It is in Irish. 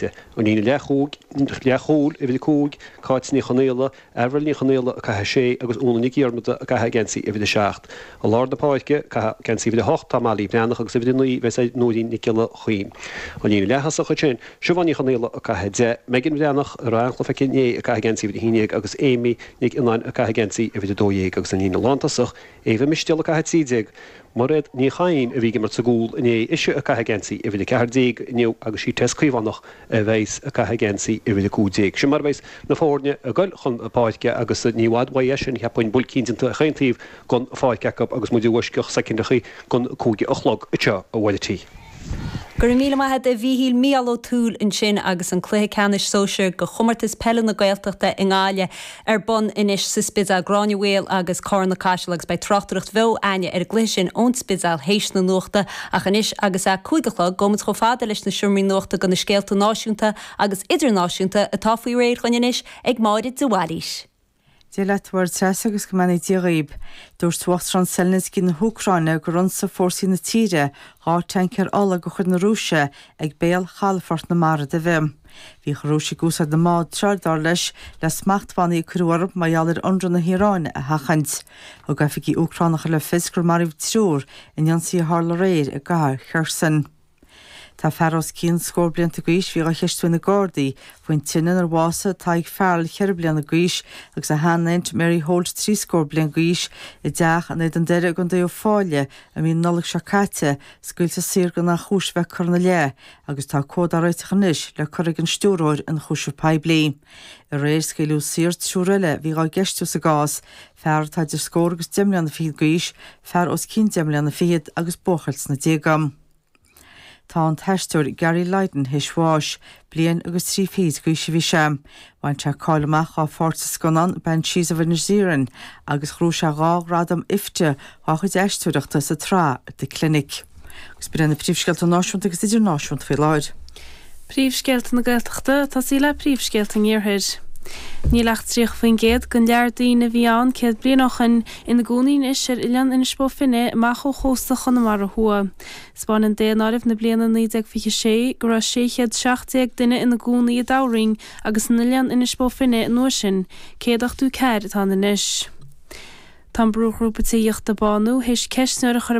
An líne leathchúil, uimhir 5, Cáit Ní Chonaola, Avril Ní Chonaola ag caitheamh 6 agus Úna Nic Dhiarmada ag caitheamh geansaí uimhir 7. I lár na páirce, ag caitheamh geansaí uimhir 8 tá Molly Breathnach agus uimhir 9 bheas ag Nóirín Nic Giolla Chuinn. An líne leath-thosach ansin, Siobhán Ní Chonaola ag caitheamh 10, Megan Breathnach, a raibh an-chluiche aici inné, ag caitheamh geansaí uimhir 11 agus Amy Nic Fhionnáin ag caitheamh geansaí uimhir 12 agus an líne lántosach, Eva Mistéal ag caitheamh 13, Mairéad Ní Chadhain a bhí ag imirt sa gcúl inné, ise ag caitheamh geansaí uimhir 14 inniu agus sí Tess Caomhánach a bheas ag caitheamh geansaí uimhir 15. Sin mar a bheas na foirne ag goil chun páirce agus ní i bhfad uaidh é sin, cheapfainn, buailcín déanta ag chaon taobh den pháirc acu agus muid i bhfoisceacht soicindeachaí gon 5 a chlog anseo a Mháire. Go raibh míle maith a't a Mhíchíl, Mícheál Ó Tuathail ansin agus an cluiche ceannais sóisir de chomórtas peile na Gaeltachta i nGaillimh ar bun anois sa Spidéal, Gráinne Mhaol agus Carna Caiseal agus beidh tráchtaireacht bheo a'inne ar an gcluiche sin ón Spidéal théis na nuachta ach anois agus é 5 a chlog gabhfaidh muid chomh fada leis na seomraí nuachta do na scéalta náisiúnta agus idirnáisiúnta atá faoi réir dhuinn anois ag Máire de Bhailís. Dia leat, a Mháire Treasa, agus go mbeannaí Dia dhaoib. Dúirt Uachtarán Zelensky na hÚcráine gur ionsaigh fórsaí na tíre 2 tancaer ola de chuid na Rúise ag béal chalafort na Mara Duibhe. Bhíodh an Rúis ag úsáid na mbád seo, dar leis, le smachtbhannaí a cuireadh orthu mar gheall ar ionradh na hIaráine a sheachaint. Thug oifigigh Úcránacha le fios gur maraíodh triúr in ionsaí a tharla aréir i gcathair Kherson. Tá fear os cionn scór blianta d'aois a bhí dhá cheistiú ag na Gardaí faoin tine inar bhásaigh Tadhg Farrell cheithre bliana d'aois agus a shean-aint Mary Holt trí scór bliain d'aois i dteach in Éadan Doire i gContae Uíbh Fhailí i mí na Nollag seo caite, scaoilte saor gan aon chúis a bheith curtha ina leith agus tá comhad á réiteach anois le cur ag an Stiúrthóir Ionchúiseamh Poiblí. Aréir scaoileadh saor triúr eile a bhí dhá gceistiú sa gcás, fear atá idir scór agus deich mbliana fichead d'aois, fear os cionn deich mbliana fichead agus buachaill sna déaga. Tá an t-aisteoir Gary Lydon théis bháis. Bliain agus trí fichid d'aois a bhí sé. Bhain sé cáil amach dhá pháirt sa scannán Banshees of Inisherin agus ghnóthaigh sé dhá ghradam IFTA dhá chuid aisteoireachta sa tsraith The Clinic. Agus b'in iad na príomhscéalta náisiúnta agus idirnáisiúnta faoi láthair. Príomhscéalta na Gaeltachta, ag tosaí le príomhscéalta an Iarthair. Níl ach 30% den lear daoine a bhí ann 100 bliain ó shoin ina gcónaí anois ar oileán Inis Bó Finne amach ó chósta Chonamara Thuaidh. 'Spáineann daonáireamh na bliana 1926 go raibh 617 duine ina gcónaí i dToghroinn agus in oileán Inis Bó Finne an uair sin, 184 atá ann anois. Tá an brúghrúpa tithíochta Bánú théis ceistneoir a chur.